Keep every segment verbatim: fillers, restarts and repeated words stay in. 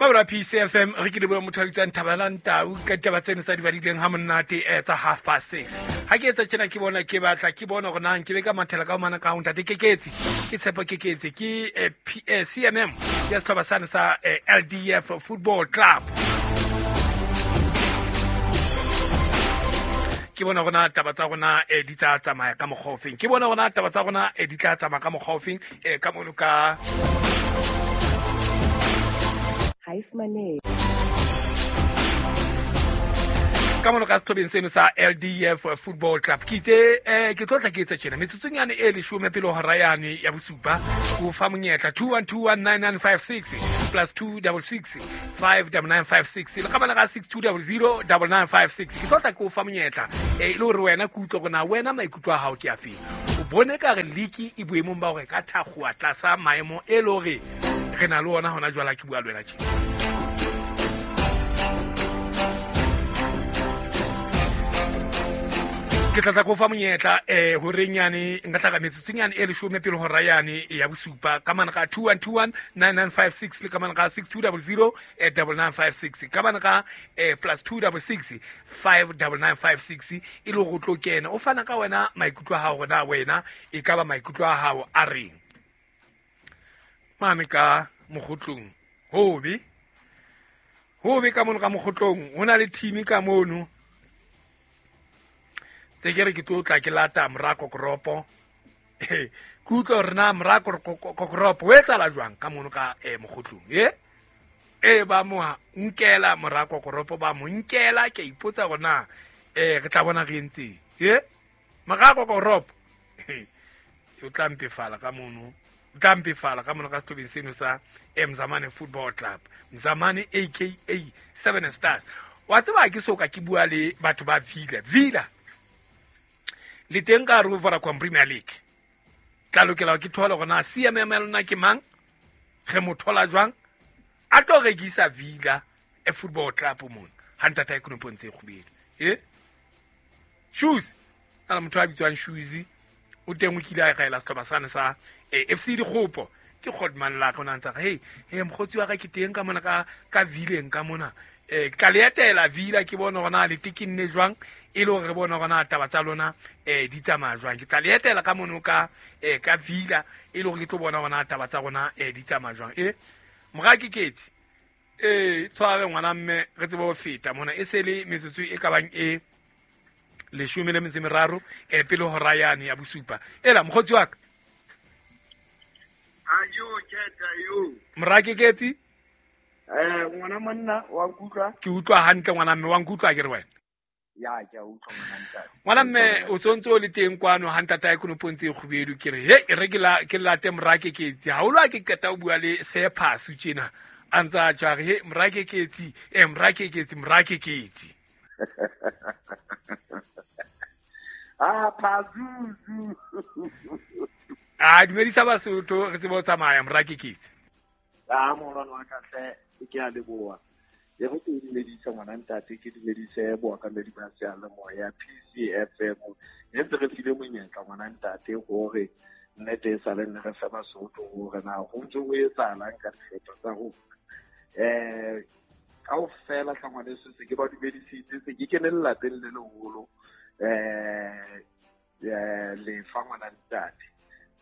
Mabra P C F M re ke leboha motho a bitswang Thabelang Tau ka ditaba tseno tsa di badileng ha monate eh, tsa half past six. Ha ke etsa tjena ke bona ke batla ke bona hore na nke be ka mathela ka ho mana ka ho ntate Keketsi. Ke Tshepo Keketsi ke eh, P- eh, C M M ya sehlopha sane sa eh, L D F Football Club. Ke bona hore na taba tsa rona eh, di tla tsamaya ka mokgwa ofeng. Ke bona hore na taba tsa rona eh, di tla tsamaya ka mokgwa ofeng eh, ka mono ka Ha e fumanehe. Ka mono ka sehlobeng seno sa L D F Football Club. Ke itse, eh, ke tlo tla ke etsa tjena. Metsotsong yane e leshome pele ho hora yane ya bosupa, ho fa monyetla two one two one nine nine five six plus two double six five double nine five six. Le ka bana ka six two double zero double nine five six. Ke tlo tla ke o fa monyetla, eh, e le hore wena ke utlwe hore na wena maikutlo a hao ke a feng. O bone ka re league e boemong ba hore ka thakgowa tlasa maemo e le hore re na le ona hona jwale ha ke bua le wena tje. Ke tla tla ko fa monyetla, eh, horeng yane, nka tla ka metsotsong yane e leshome pele hora yane ya bosupa, ka mane ka two one two one nine nine five six le ka mane ka six two double zero, eh, double nine five six, ka mane ka, eh, plus two double six five double nine five six, e le hore o tlo kena. O fana ka wena maikutlo a hao hore na wena e ka ba maikutlo a hao a reng. Mane ka mokgotlong, hobe. Hobe ka mono ka mokgotlong, ho na le team ka mono. Tse ke re ke tlo tla ke lata mora kokoropo. Ke utlwa hore na mora kokoropo o etsahala jwang ka mono ka, eh, mokgotlong, eh? E ba mo nkela mora kokoropo, ba mo nkela, ke a ipotsa hore na, eh, re tla bona re entseng, eh? Mora kokoropo. O tla mpefala ka mono. O tla mpefala ka mono ka sehlobeng seno sa Mzamane Football Club. Mzamane A K A Seven Stars. Wa tseba ke soka ke bua le batho ba Villa. Villa le teng ka hare ho Vodacom Premier League. Tla lokela ke thole hore na C M M ya lona ke mang, re mo thola jwang, a tlo rekisa Villa e Football Club mona. Ha ntata e konopo ntse e kgubedu. Eh? Shoes. Ana motho a bitswang Shoes o teng o kile a kaela sehlopha sane sa, eh, F C Dikgopo. Ke Godman la ka o na ntsa re, hey, hey, mokgotsi wa ka ke teng ka mona ka, ka Villeng ka mona. Eh, ke tla le etela Villa ke bone hore na le tekinne jwang, e le hore re bone hore na taba tsa lona, eh, di tsamaya jwang. Ke tla le etela ka mono ka, eh, ka Villa, e le hore ke tlo bona hore na taba tsa rona, eh, di tsamaya jwang. Eh, mora Keketsi, eh, tshware ngwana mme re tsebe ho feta mona. E se le metsotso e ka bang e leshome le metso e meraro, eh, pele hora yane ya bosupa. Ela mokgotsi wa ka. Ayo, Keta, yo. Mora Keketsi? Eh, ngwana monna, wa nkutlwa? Ke utlwa hantle ngwana mme, wa nkutlwa ke re wena? Ya, ke a utlwa ngwana ntate. Ngwana mme, o sontse o le teng kwano ha ntata e konopo ntse e kgubedu, ke re, he, e re ke la, ke late mora Keketsi. Haholo ha ke qeta ho bua le Sephasu tjena, a ntse a tjho a re, he, mora Keketsi, eh, mora Keketsi, mora Keketsi. Ah, Pazuzu. Ah, dumedisa Basotho, re tsebe ho tsamaya, mora Keketsi. Ah, morwane wa ka hle, ke a leboha. E re ke dumedise ngwana ntate, ke dumedise bookamedi ba seyalemoya P C F M. E ntse re file monyetla ngwana ntate hore nnete e sale nne re fe Basotho hore na ho ntse ho etsahalang ka dihlopha tsa rona. Eh, kaofela tla ngwaneso se ke ba dumedisitse, se ke kene lelapeng le leholo. Eh, eh, lefa ngwana ntate.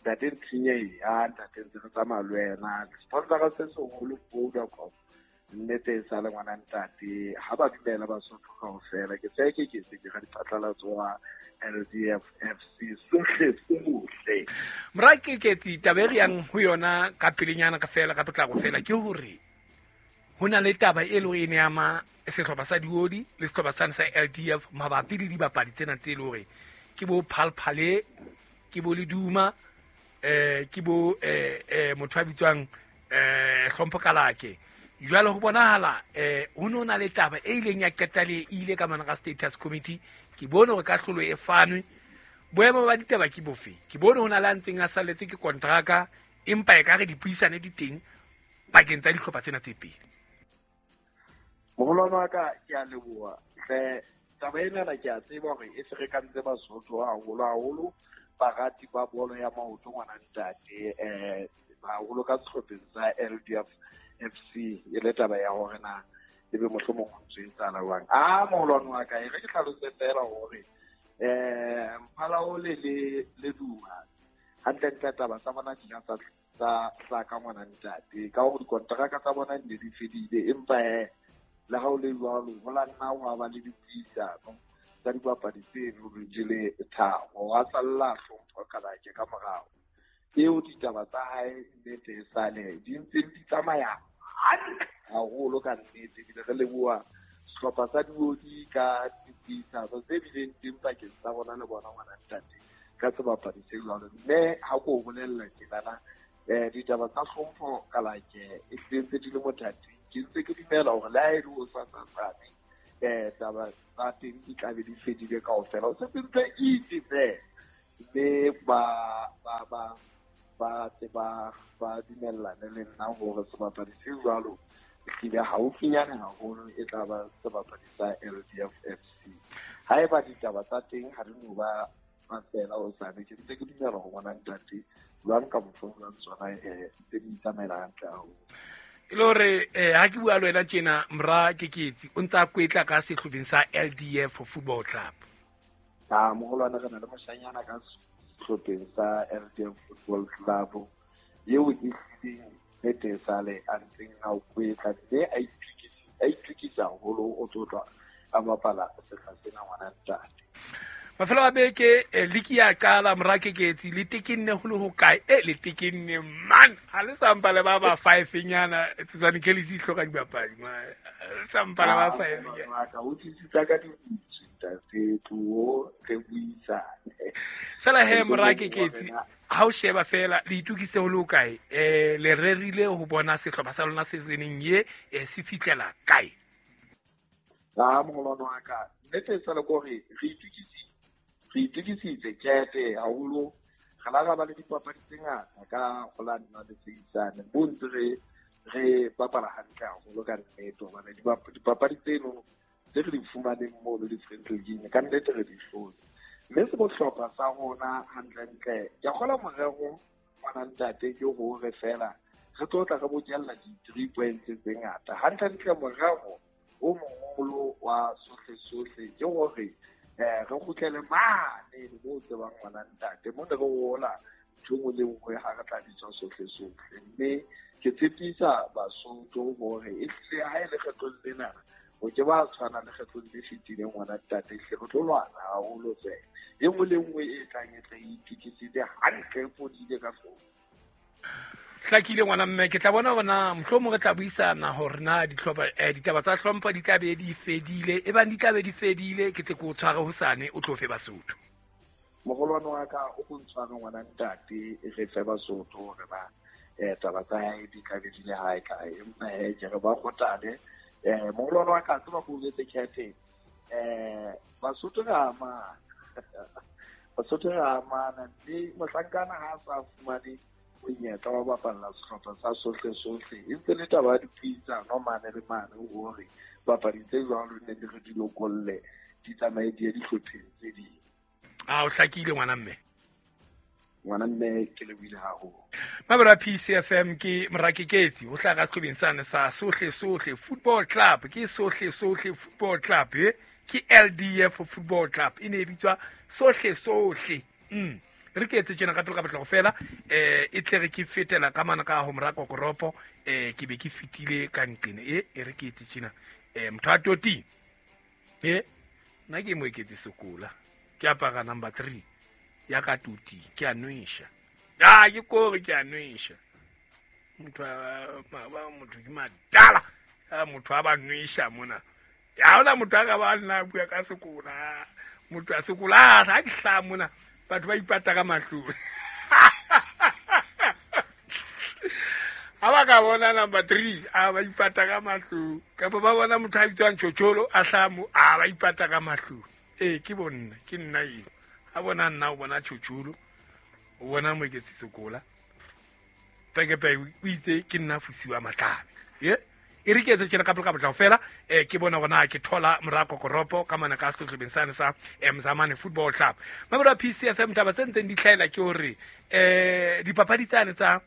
Ntate Ntshinye, ah, ntate ntse re tsamaya le wena. Sponsor se seholo Vodacom. Nnete e sale ngwana ntate, ha ba dumela Basotho kaofela. Ke se ke ke se ke ra diphatlalatso wa L D F F C sohle sohle. Mora Keketsi, taba e re yang ho yona ka pelenyana ka fela, ka potlako fela, ke hore ho na le taba e leng hore e ne ama sehlopha sa Diodi le sehlopha sane sa L D F mabapi le dibapadi tsena tse leng hore ke bo Phalphale, ke bo Leduma, eh, ke bo, eh, eh, motho a bitswang, eh, Hlompho Kalake. Jwale ho bonahala, eh, ho no na le taba e ileng ya qeta le e ile ka mane ka status committee. Ke bone hore kahlolo e fanwe. Boemo ba ditaba ke bofe? Ke bone ho na le a ntseng a salletswe ke kontraka, empa ekare dipuisano di teng pakeng tsa dihlopha tsena tse pedi. Moholwane wa ka, ke a leboha. Hle, taba enana ke a tseba hore e ferekantse Basotho haholo haholo, barati ba bolo ya maoto ngwana ntate, eh, haholo ka sehlopheng sa L D F F C e le taba ya hore na ebe mohlomong ho ntse etsahala jwang. A moholwane wa ka e re ke hlalose feela hore eh Mphalaole le le Duma hantlentle taba tsa bona di tsa tsa hlaka ngwana ntate ka hore dikonteraka tsa bona di ne di fedile, empa eh le ha o le jwalo ho la nna wa ba le dipuisano tsa dipapadi tse di le tharo wa salla hlompho Kalake ka morao. Eo ditaba tsa hae nnete e sale di ntse di tsamaya hantle haholo ka nnete, ebile re leboha sehlopha sa Diodi ka dipuisano tse bileng teng pakeng tsa rona le bona ngwana ntate ka sebapadi se jwalo. Mme ha ko o bolella tjenana eh ditaba tsa hlompho Kalake e hlentse di le mothating, ke ntse ke dumela hore le ha e le o sa tsatsane eh taba tsa teng di tla be di fedile kaofela, o setse ntse itse fela mme ba ba ba ba tse ba ba dumellane le nna hore sebapadi se jwalo ehlile haufinyane haholo e tla ba sebapadi sa L D F F C. Haeba ditaba tsa teng ha di no ba fela o sane, ke ntse ke dumela ho bona ntate jwang ka mokgwa jwang tsona eh tse di tsamaela hantle haholo. E le hore eh ha ke bua le wena tjena mora Keketsi o ntsa kwetla ka sehlopheng sa L D F Football Club. Ah moholwane re na le moshanyana ka sehlopheng sa L D F Football Club eo e hlileng nnete sale a ntseng a kwetla mme a itukisa a itukisa haholo o tlotla a bapala sehla sena ngwana ntate. Mafelo a beke liki ya qala mora Keketsi le tekenne ho le ho kae? E le tekenne man ha le sampa le ba ba five nyana Susan Kelly se hloka dibapadi ma sampa le ba five nyana ka o tsitsa ka dibutsi ntate tlo re buisane fela he mora Keketsi ha o sheba fela le itukise ho le ho kae? Eh le rerile ho bona sehlopha sa lona se seneng ye se fitlela kae? Ah moholwane wa ka nnete sa le gore re itukise re itukisitse kete haholo re la ba le dipapadi tse ngata ka ho la nna le seisane bo ntse re re bapala hantle haholo ka nnete hobane dipapadi tseno tse re di fumaneng moo le di-friendly game ka nnete re di hlotse. Mme se bohlokwa sa rona hantlentle ke a kgola morero ngwana ntate ke hore fela re tlo tla re bokella di-three points tse ngata. Hantlentle morero o moholo wa sohle sohle ke hore eh re kgutlele mane mo tsebang ngwana ntate mo ne re hola ntho nngwe le nngwe ha re tla bitswa sohle sohle. Mme ke tshepisa Basotho hore e hlile ha e le kgetlong lena o ke ba tshwana le kgetlong le fetileng ngwana ntate, ehlile re tlo lwana haholo fela e nngwe le nngwe e tlang e tle e itukisitse hantle e fodile ka hlooho. Hlakile ngwana mme ke tla bona bona mohlomong re tla buisana hore na ditlhopha eh ditaba tsa hlompho di tla be di fedile, e bang di tla be di fedile ke tle ke o tshware hosane o tlo fe Basotho. Moholwane wa ka o go ntshware ngwana ntate re fe Basotho hore ba eh taba tsa hae di tla be di le hae kae, empa he ke re ba kgotale eh moholwane wa ka tseba go jetse khethe eh Basotho re amana Basotho re amana mme mohlankana ha sa fumane monyetla wa bapalla sehlopha sa sohle sohle e ntse le taba ya dipuisano mane le mane hore bapadi tse jwalo ne di re di lokolle di tsamaye di ye dihlopheng tse ding. A o hlakile ngwana mme. Ngwana mme ke lebohile haholo. Mabera P C F M ke mora Keketsi o hlaha ka sehlopheng sane sa Sohle Sohle Football Club, ke Sohle Sohle Football Club eh ke L D F Football Club e ne e bitswa Sohle Sohle. Mm re ke etse tjena ka pele ka botlalo fela eh e tle re ke fetela ka mana ka ho mora Kokoropo eh ke be ke fitile ka nqene e e re ke etse tjena eh motho a toti eh nna ke mo eketse sekola ke apara number three ya ka toti ke a nwesha ah ke kore ke a nwesha motho ba motho ke madala a motho a ba nwesha mona ya hona motho a ka ba nna bua ka sekola motho a sekola ha ke hla mona batho ba ipata ka mahlong ha ba ka bona number three a ba ipata ka mahlong kapa ba bona motho a bitswang Tjotjolo a hlamo a ba ipata ka mahlong ee ke bonna ke nna eo ha bona nna o bona Tjotjolo o bona Moeketsi Sekola peke peke o itse ke nna Fusiwa Matlabe ye e re ke etse tjena ka pele ka botlalo fela eh ke bona gona ke thola mora Kokoropo ka mana ka sehlopheng sane sa Mzamane Football Club. Mabura P C F M taba tse ntseng di tlhaela ke hore eh dipapadi tsane tsa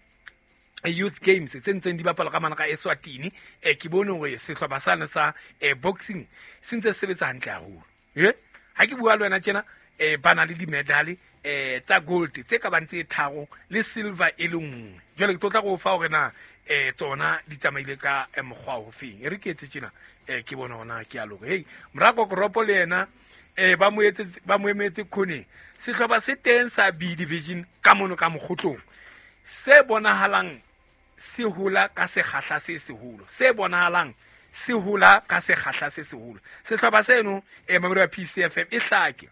Youth Games tse ntseng di bapalwa ka mana ka Eswatini. Eh ke bone hore sehlopha sane sa eh boxing se ntse se sebetsa hantle haholo. Eh ha ke bua le wena tjena eh ba na le di-medal eh tsa gold tse ka bang tse tharo le silver e le nngwe. Jwale ke tlo tla go fa hore na eh tsona di tsamaile ka mokgwa o feng. E re ke etse tjena eh ke bona hona ke a loka. Hey Morako Koropo le yena eh ba mo etse ba mo emetse khone. Sehlopha se teng sa B division ka mono ka mokgotlong se bonahalang se hola ka sekgahla se seholo, se bonahalang se hola ka sekgahla se seholo. Sehlopha seno eh mamelo ya P C F M e hlake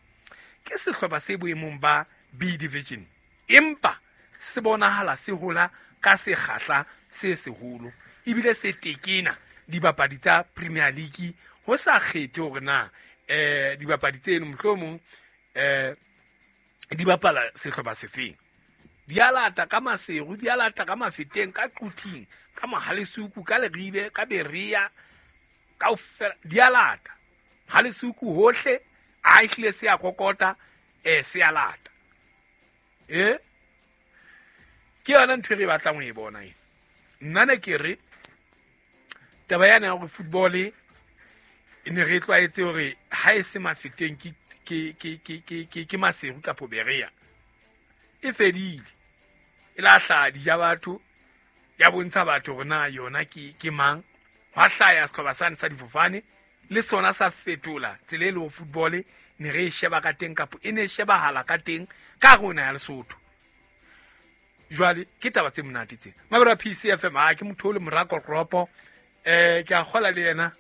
ke sehlopha se boemong ba B division, empa se bonahala se hola ka sekgahla se seholo ebile se tekena dibapadi tsa Premier League ho sa kgethe hore na eh dibapadi tseno mohlomong eh di bapala sehlopha sefeng. Di a lata ka Maseru, di a lata ka Mafeteng, ka Quthing, ka Mohalesuku, ka Leribe, ka Berea, kaofela di a lata. Halesuku hohle a ehlile se a kokota eh se a lata. Eh ke yona ntho e re batlang ho e bona ena. Nna ne ke re taba yana ya hore football e ne re tlwaetse hore ha e se Mafeteng ke ke ke ke ke ke Maseru kapa Berea e fedile. E la hlaha di ja batho, ya bontsha batho hore na yona ke ke mang. Hwa hlaya sehlopha sane sa difofane le sona sa fetola tsela e le football ne re e sheba ka teng kapa e ne e shebahala ka teng ka rona ya Lesotho. Jwale ke taba tse monate tsena. Mabero a P C F M a ke motho o le Morako Koropo eh ke a kgola le yena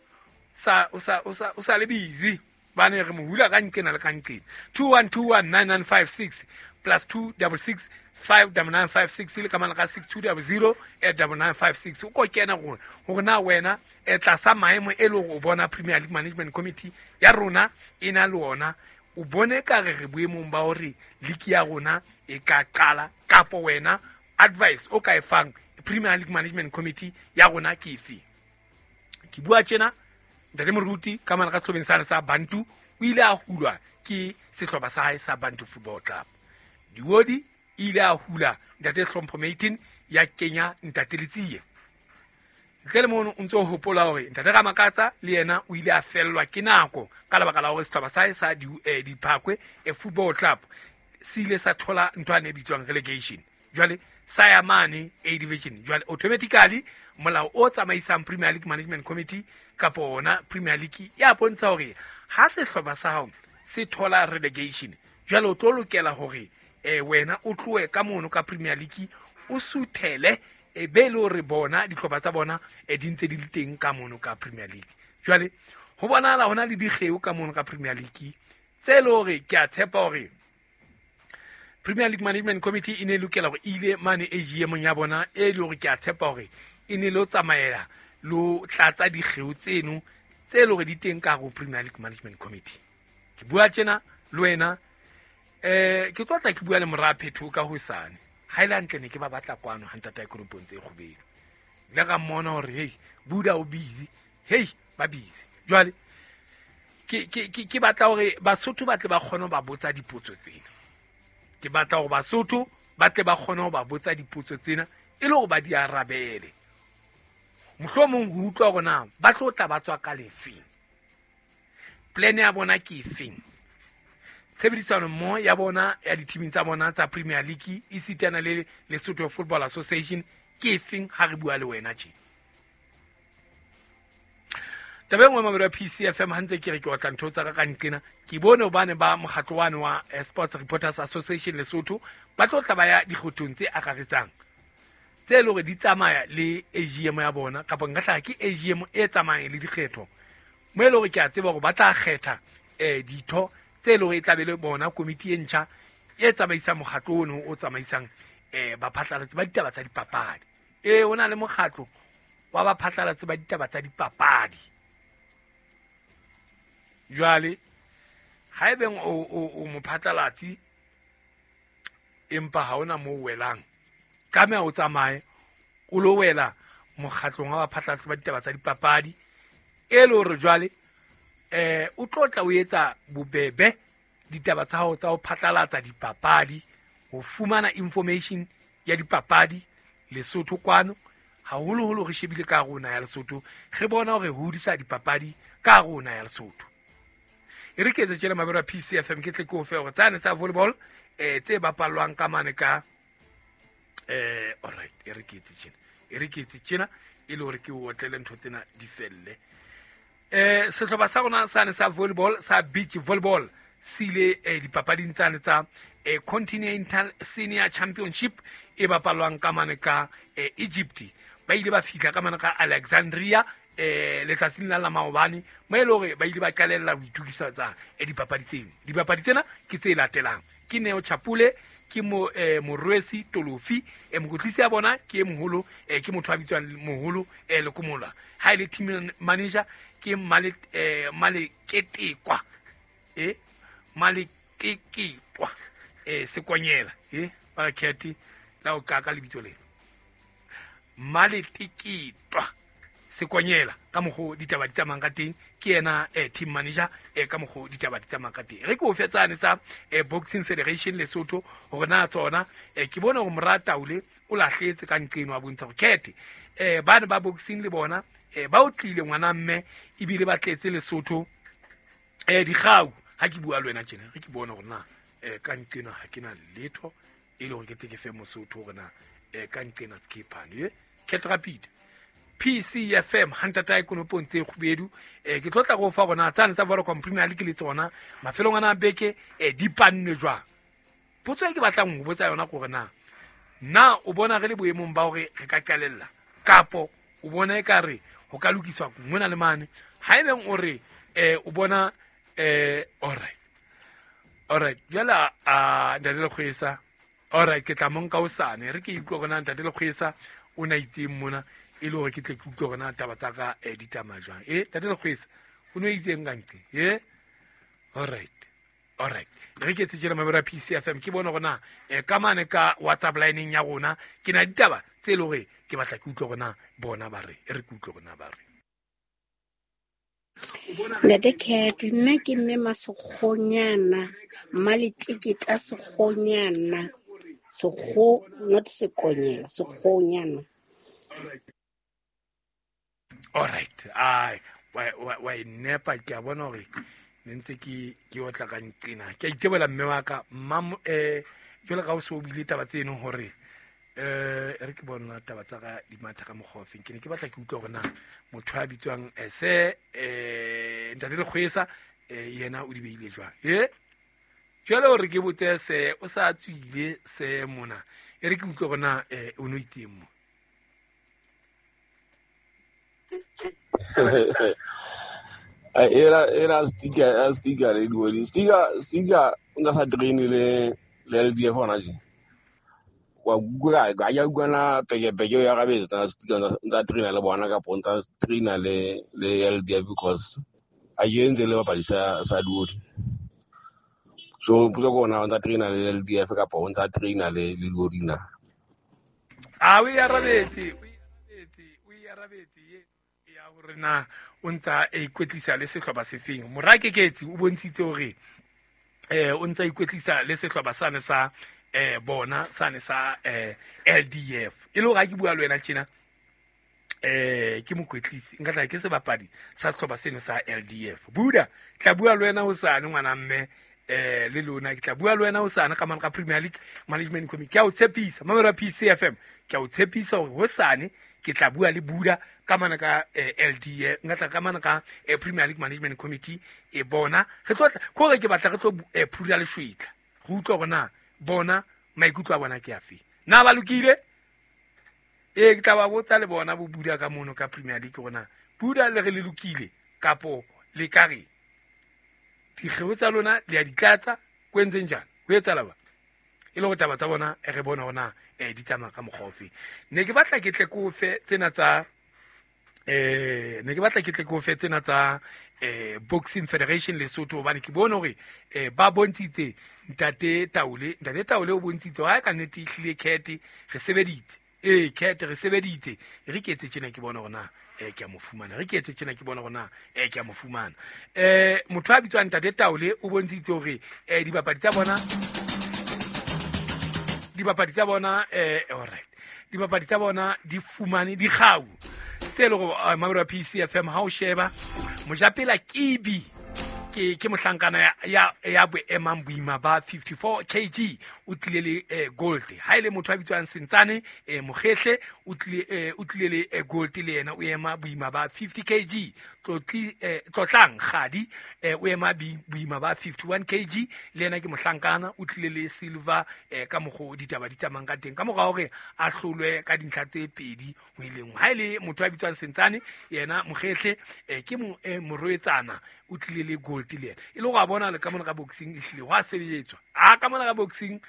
sa o sa o sa o sa le busy ba ne re mo hula ka nqena le ka nqena. two one two one nine nine five six plus two double six five double nine five six le ka mana ka six two double zero eight double nine five six. O ko kena gore hore na wena e tlasa maemo e le hore o bona Premier League Management Committee ya rona e na le ona, o bone ka re re boemong ba hore league ya rona e ka qala kapo wena advice o ka e fang Premier League Management Committee ya rona ke efe. Ke bua tjena Ntate Moruti ka mana ka sehlobeng sane sa Bantu o ile a hulwa ke sehlopha sa hae sa Bantu Football Club. Diwodi ile a hula Ntate Hlompho Maitin ya kenya Ntate Letsie. Ntle le mono o ntso hopola hore Ntate Ramakatsa le yena o ile a fellwa ke nako ka lebaka la hore sehlopha sa hae sa Diphakwe e Football Club se ile sa thola ntho e bitswang relegation. Jwale sa ya mane A division. Jwale automatically molao o tsamaisang Premier League Management Committee kapa ona Premier League ya bontsha hore ha sehlopha sa hao se thola relegation, jwale o tlo lokela hore eh wena o tloe ka mono ka Premier League o suthele e be le hore bona dihlopha tsa bona e di ntse di le teng ka mono ka Premier League. Jwale ho bonahala hona le dikgeo ka mono ka Premier League tse le hore ke a tshepa hore Premier League Management Committee e ne lokela hore ile mane A G M ya bona e le hore ke a tshepa hore e ne lo tsamaela lo tlatsa dikgeo tseno tse le hore di teng ka ho Premier League Management Committee. Ke bua tjena le wena eh ke tlotla ke bua le mora Phetho ka hosane. Ha ile hantle ne ke ba batla kwano ha ntata Koropong tse kgobelo. Le ka mmona hore hey Buda o busy, hey ba busy. Jwale ke ke ke batla hore Basotho ba tle ba kgone ho ba botsa dipotso tsena. Ke batla hore Basotho ba tle ba kgone ho ba botsa dipotso tsena e le hore ba di arabele. Mohlomong ho utlwa hore na ba tlo tla ba tswa ka lefeng, plan ya bona ke efeng, tshebedisano mmoho ya bona ya dithiming tsa bona tsa Premier League e sitana le Lesotho Football Association ke efeng ha re bua le wena tje. Taba e nngwe mamelo ya P C F M ha ntse ke re ke otla ntho tsa ka ka nqena, ke bone hobane ba mokgatlo wane wa Sports Reporters Association Lesotho ba tlo tla ba ya dikgothong tse akaretsang tse le hore di tsamaya le A G M ya bona kapa nka hlaha ke A G M e tsamayang le dikgetho mo e le hore ke a tseba hore ba tla kgetha eh ditho tse le hore e tla be le bona komiti e ntjha e tsamaisang mokgatlo ono o tsamaisang eh baphatlalatsi ba ditaba tsa dipapadi. Eh o na le mokgatlo wa baphatlalatsi ba ditaba tsa dipapadi. Jwale haebeng o o mophatlalatsi empa ha ona mo welang, tlameha o tsamaye o lo wela mokgatlong wa baphatlalatsi ba ditaba tsa dipapadi e le hore jwale eh o tlo tla o etsa bobebe ditaba tsa hao tsa ho phatlalatsa dipapadi, ho fumana information ya dipapadi Lesotho kwano haholoholo re shebile ka rona ya Lesotho re bona hore hodisa dipapadi ka rona ya Lesotho. E re ke etse tjela mabero a P C F M ke tle ke o fe hore tsane tsa volleyball eh tse bapallwang ka mane ka eh all right e re ke etse tjena e re ke etse tjena e le hore ke o otlele ntho tsena di felle. Eh sehlopha sa rona sane sa volleyball sa beach volleyball se ile eh, dipapading tsane tsa eh, Continental Senior Championship e bapalwang ka mane ka eh, Egypt. Ba ile ba fihla ka mane ka Alexandria eh letsatsing la la maobane mo e le hore ba ile ba qalella ho itokisa tsa eh, dipapadi tseno. Dipapadi tsena ke tse latelang: ke Neo Chapule, ke mo eh, Morwesi Tolofi, eh, mokotlisi ya bona ke e moholo eh, ke motho a bitswang moholo eh, Lekomola. Ha ile team manager ke Male eh, Maleketekwa eh Maleketekwa eh Sekonyela eh ba khethi la o kaka lebitso lena Maleketekwa Sekonyela ka mokgo ditaba di tsamayang ka teng ke yena eh, team manager eh, ka mokgo ditaba di tsamayang ka teng. Re ke o fetsane tsa eh, Boxing Federation Lesotho hore na tsona eh, ke bona hore Mora Taule o lahletse ka nqeno a bontsha hore khethe eh, bana ba boxing le bona eh, ba o tlile ngwana mme ebile ba tletse Lesotho eh, dikgau. Ha ke bua le wena tjena re ke bona hore na eh, ka nqeno ha ke na letho e le hore ke tle ke fe Mosotho hore na eh, ka nqena skephane eh Cat Rapid P C F M hantata konopong tse kgubedu eh ke tlotla go fa gona tsane tsa Vodacom Premier League le tsona mafelong ana beke eh di pannwe jwang. Potso e ke batlang ho botsa yona gore na na o bona re le boemong ba hore re ka qalella kapo o bona e ka re ho ka lokiswa mona le mane. Ha ebeng o re eh o bona eh all right all right jwale a ntate Lekgwesa all right ke tla monka o sane re ke utlwe gona ntate Lekgwesa o na itseng mona e le hore ke tle ke utlwe hore na taba tsa ka eh, di tsamaya jwang. Eh ntate Lekgwesa o no itseng ka ntle eh all right all right re ke tsejela mabero a P C F M ke bona hore na eh, ka mane ka WhatsApp lineng ya rona ke na ditaba tse le hore ke batla ke utlwe hore na bona ba re e re ke utlwe hore na ba re. Ntate Cat, nna ke mme Masekgonyana, Mmaleteketa Sekgonyana, Sekgo not Sekonyela, Sekgonyana. All right ai wa wa wa nepa ke a bona hore ne ntse ke ke otla ka nqena ke a itebola mme wa ka mma eh jwale ka o so bile taba tseno hore eh re ke bona taba tsa ka di matha ka mokgwa ofeng. Ke ne ke batla ke utlwa hore na motho a bitswang eh, se eh ntate Lekgwesa eh, yena o di beile jwang eh jwale hore ke botse se o sa tswile se mona e re ke utlwe hore na eh, o no itseng mo. Era era sticker sticker le di sticker sticker nga sa train le le L D F ona je wa gura ga ya gwana peke peke ya ga betsa sticker ntsa train le bona ka pontsa train le le L D F because a yentse le bapadi sa sa duodi so puso gona ntsa train le L D F ka pontsa train le le duodi na a we arabetse we arabetse we arabetse ya hore na o ntsa e ikwetlisa le sehlopha sefeng. Mora Keketsi o bontshitse hore eh o ntsa ikwetlisa le sehlopha sane sa eh bona sane sa eh L D F e le hore ha ke bua le wena tjena eh ke mokwetlisi nka tla ke sebapadi sa sehlopha seno sa L D F. Buda tla bua le wena hosane ngwana mme eh le lona ke tla bua le wena hosane ka mane ka Premier League Management Committee. Ke a o tshepisa mamelo ya P C F M ke a o tshepisa hore hosane ke tla bua le Buda ka mana ka eh, L D A nka tla ka mana ka eh, Premier League Management Committee e bona re tlo tla gore ke batla re tlo eh, phura leshwetla re utlwa hore na bona maikutlo a bona ke afe na ba lokile e ke tla ba botsa le bona bo Buda ka mono ka Premier League hore na Buda le re le lokile kapo le ka re dikgeo tsa lona le a di tlatsa kwentseng jang ho etsahala ba e le hore taba tsa bona e re bona hore na eh di tsamaya ka mokgwa ofe. Ne ke batla ke tle ke o fe tsena tsa eh ne ke batla ke tle ke o fe tsena tsa eh Boxing Federation Lesotho hobane ke bone hore eh ba bontshitse ntate Taule ntate Taule o bontshitse ha ka nnete e hlile khethe re sebeditse eh khethe re sebeditse re ke etse tjena ke bona hore na eh ke a mo fumana re ke etse tjena ke bona hore na eh ke a mo fumana eh motho a bitswang ntate Taule o bontshitse hore eh dibapadi tsa bona dibapadi tsa bona eh all right Dibapadi tsa bona di fumane dikgau tse le go mamelo P C F M ha o sheba Mojapela Kibi ke ke mohlankana ya ya, ya boemang boima ba fifty-four kilograms o tlile le eh, gold. Ha ile motho a bitswang Sentsane eh, Mokgehle o tlile eh, o tlile le eh, gold le yena o ema boima ba fifty kilograms. Tlotli eh, Tlotlang Kgadi eh, o ema boima ba fifty-one kilograms le yena ke mohlankana o tlile le silver eh, ka mokgo ditaba di tsamang ka teng ka mora hore a hlolwe ka dintlha tse pedi ho ileng. Ha ile motho a bitswang Sentsane yena Mokgehle eh, ke mo eh, morwetsana o tlile le gold le yena. E le go a bona le ka mona ka boxing e hlile go a sebetswa. A ka mona ka boxing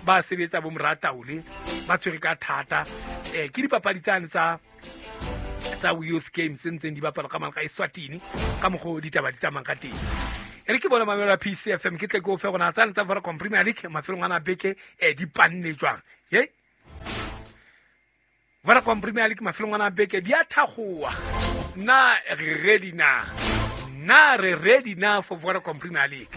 ba sebetsa bo Morataole ba tshwere ka thata. Eh ke dipapadi tsane tsa tsa Youth Games ntseng di bapala ka mona ka Eswatini ka mokgo ditaba di tsamang ka teng. E re ke bona mamelo ya P C F M ke tle ke o fe gona tsane tsa Vodacom Premier League mafelong ana beke eh di panne jwang. Ye Vodacom Premier League mafelong ana beke di a thagoa. Na re ready na? Na re ready now for Vodacom Premier League?